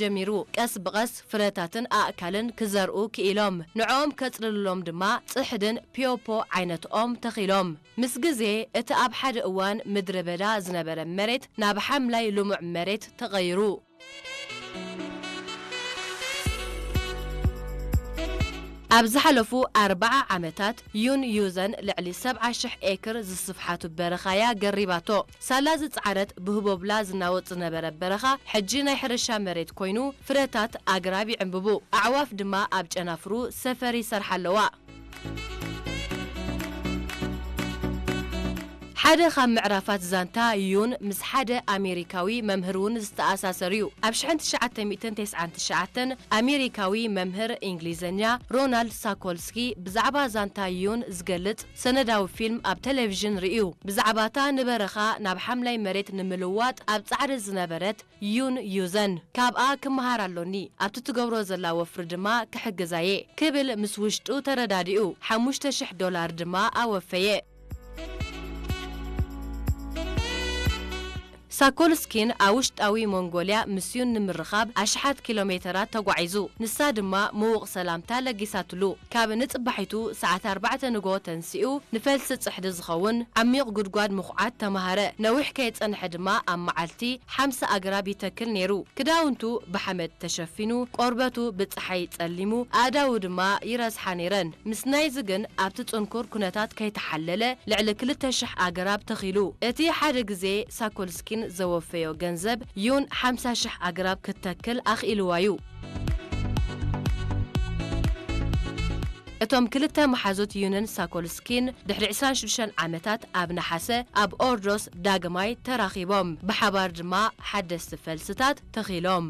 ጀሚሩ። ቀስ ብቐስ ፍረታትን ኣእካልን ክዘርኡ ክኢሎም። ንዕኦም ከጽልሉሎም ድማ ጽሕድን ፒዮፖ ዓይነት ኦም ተኺሎም። ምስ ግዜ፣ እቲ ኣብ ሓደ እዋን ምድረ በዳ ዝነበረ መሬት ናብ ሓምላይ ልሙዕ መሬት ተቐይሩ። ኣብ ዝሓለፉ ኣርብዓ ዓመታት፣ ዩን ዩዘን ልዕሊ ሰብዓ ሽሕ ኤክር ዝስፍሓቱ በረኻ'ያ ገሪባቶ። ሳላ ዝጸዓረት ብህቦብላ ዝናወጽ ዝነበረ በረኻ፣ ሕጂ ናይ ሕርሻ መሬት ኮይኑ፣ ፍረታት ኣግራብ ይዕምብቡ፣ ኣዕዋፍ ድማ ኣብ ጨናፍሩ ሰፈር ይሰርሓ ኣለዋ። ሓደ ካብ ምዕራፋት ዛንታ ዩን ምስ ሓደ ኣሜሪካዊ መምህር እውን ዝተኣሳሰር እዩ። ኣብ ሽሕን ትሽዓተ ሚእትን ተስዓን ትሽዓተን ኣሜሪካዊ መምህር እንግሊዝኛ ሮናልድ ሳኮልስኪ ብዛዕባ ዛንታ ዩን ዝገልጽ ሰነዳዊ ፊልም ኣብ ቴሌቪዥን ርእዩ። ብዛዕባታ ንበረኻ ናብ ሓምላይ መሬት ንምልዋጥ ኣብ ጻዕሪ ዝነበረት ዩን ዩዘን ካብኣ ክመሃር ኣሎኒ፣ ኣብቲ ትገብሮ ዘላ ወፍሪ ድማ ክሕግዛ'የ ክብል ምስ ውሽጡ ተረዳዲኡ፣ ሓሙሽተ ሽሕ ዶላር ድማ ኣወፈየ። ሳኮልስኪን ኣብ ውሽጣዊ ሞንጎልያ ምስ ዩን ንምርኻብ ኣሽሓት ኪሎ ሜተራት ተጓዒዙ፣ ንሳ ድማ ምዉቕ ሰላምታ ለጊሳትሉ። ካብ ንጽባሒቱ ሰዓት ኣርባዕተ ንግሆ ተንሲኡ፣ ንፈልሲ ጽሕዲ ዝኸውን ዓሚቕ ጉድጓድ ምኹዓት ተማሃረ። ነዊሕ ከየጸንሐ ድማ ኣብ መዓልቲ ሓምሳ ኣግራብ ይተክል ነይሩ። ክዳውንቱ ብሓመድ ተሸፊኑ፣ ቆርበቱ ብጸሓይ ጸሊሙ፣ ኣእዳዉ ድማ ይረስሓ ነይረን። ምስ ናይዚ ግን ኣብቲ ጽንኩር ኩነታት ከይተሓለለ ልዕሊ ክልተ ሽሕ ኣግራብ ተኺሉ። እቲ ሓደ ግዜ ሳኮልስኪን ዘወፈዮ ገንዘብ ዩን ሓምሳ ሽሕ ኣግራብ ክትተክል ኣኽኢልዋ'ዩ። እቶም ክልተ መሓዙት ዩንን ሳኮልስኪን ድሕሪ ዕስራን ሽዱሽተን ዓመታት ኣብ ነሓሰ ኣብ ኦርዶስ ዳግማይ ተራኺቦም። ብሓባር ድማ ሓደስቲ ፈልስታት ተኺሎም።